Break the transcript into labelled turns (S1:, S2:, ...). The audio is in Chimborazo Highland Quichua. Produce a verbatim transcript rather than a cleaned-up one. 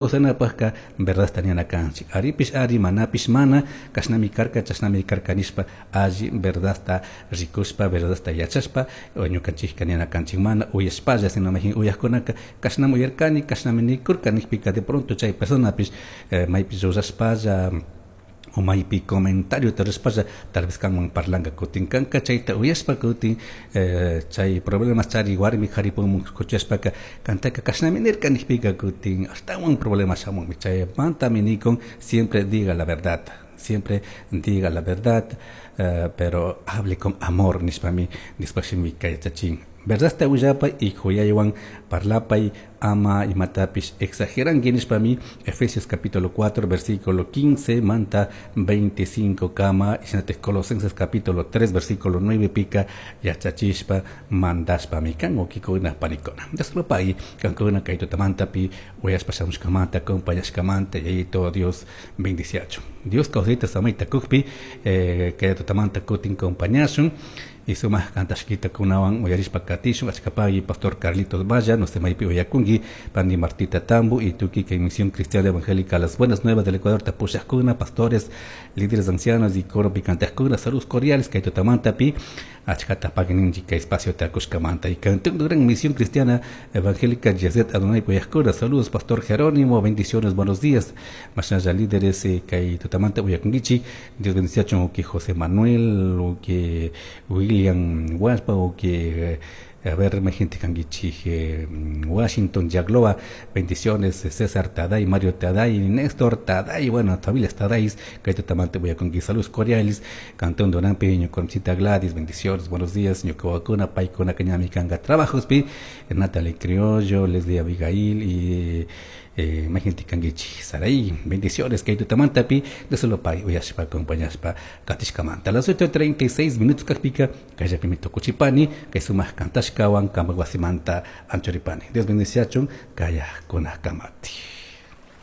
S1: Kawsanapajka verdadta nina kanchik. Aripish ari, manapish mana, kashnami karka, chashnami karka nishpa alli verdadta rikushpa, verdadta yachashpa, ñukanchikka nina kanchik mana uyashpalla, sino majin uyajkunaka kashnami uyarkani, kashnami nikurka nijpika de pronto chay personapish eh, maypi llullashpalla o maypi comentario rurashpalla tal vez kanwan parlanka kutin kanka chayta uyashpa kutin eh, chay problemas chari warmi karipumun kuchashpaka kantaka kashnami nirka nijpika kutin ashtawan problemas shamunmi. Chaymantami nikun siempre diga la verdad, siempre diga la verdad, eh, pero hable con amor nishpami nishpashimika yachachin. Verdadta willapay y kuyaywan parlapay ama imatapish exageranki nishpami Efesios capítulo cuatro versículo quince manta veinticinco kama y Colosenses capítulo tres versículo nueve pica yachachishpa mandashpami kan ukikuna panikuna. Dios kankuna kay tutamantapi uyashpa shamushkamanta acompañashkamanta yayito Dios bendiciacho. Dios kawsayta samayta kukpi eh, kay tutamanta kutin compañashun y sumaj kantashkita kunawan uyarishpa katishun achkapagui Pastor Carlitos Valla, no se maypi uyakunki Pani Martita Tambo y tuki que Misión Cristiana Evangélica Las Buenas Nuevas del Ecuador tapushajkuna, pastores, líderes ancianos y coro picantajkuna, saludos cordiales kay tutamantapi achkata pagui kay espacio takushkamanta y cantón gran Misión Cristiana Evangélica Yeset Adonai puyajkuna, saludos Pastor Jerónimo, bendiciones, buenos días, mashnalla líderes eh, kay tutamanta uyakunkichi, Dios bendiciachun uki José Manuel, uki William Huaspa, uki eh, a ver, gente kanguichi, eh, Washington Yagloa, bendiciones, César Taday, Mario Taday, Néstor Taday, bueno, familias Tadais, que tamante voy a conquistar saludos cordiales, Cantón Donán Peño, Conchita Gladys, bendiciones, buenos días, Ñucahuacuna, Paicona, Cañami, Canga, trabajos, pi, Natalie Criollo, Leslie Abigail y eh, gente kanguichi, Saraí, bendiciones, que tamantapi, de solo pay, uyashpa, acompañashpa, katishkamanta. Las ocho treinta y seis minutos kajpika, kallapimito kuchipani, que sumaj kantashkawan, kamaguasimanta, anchoripani. Dios bendiciachun, kaya kuna kamati.